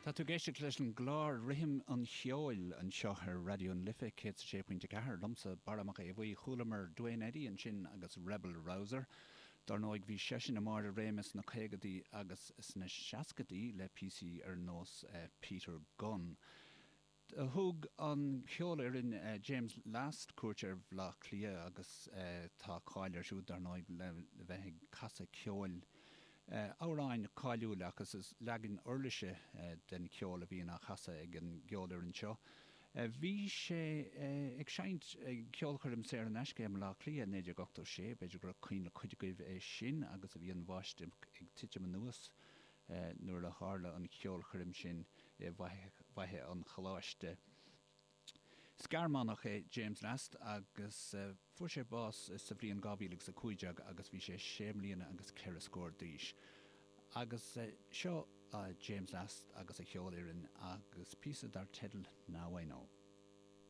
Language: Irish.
Tá tú ag éisteacht leis an gclár Rithim an Cheoil anseo ar Raidió na Life 106.4, liomsa Barra Mac Aodha Bhuí. Chualamar Duane Eddy ansin agus Rebel Rouser. Dar ndóigh bhí seisean i mbarr a réime sna caogadaí agus sna seascadaí le píosaí ar nós Peter Gunn. Thug an cheolfhoireann James Last cuairt ar Bhaile Átha Cliath agus tá cáil air siúd, dar ndóigh, le bheith ag casadh ceoil, amhráin cáiliúla agus is leagan uirlise den cheol a bhíonn á chasadh ag an gceolfhoireann seo. Bhí sé ag seinnt ag ceolchoirm saor in aisce i mBaile Átha Cliath i 1986, b'fhéidir gur cuimhin le cuid agaibh é sin agus a bhí an bháisteach ag titim anuas nuair a tharla an cheolchoirm sin i bhFaiche an Choláiste. Is Gearmánach é James Last agus fuair sé bás sa bhliain 2015 agus bhí sé sé mbliana agus ceithre scór d'aois. Agus seo James Last agus a cheolfhoireann agus píosa dar teideal Now I Know.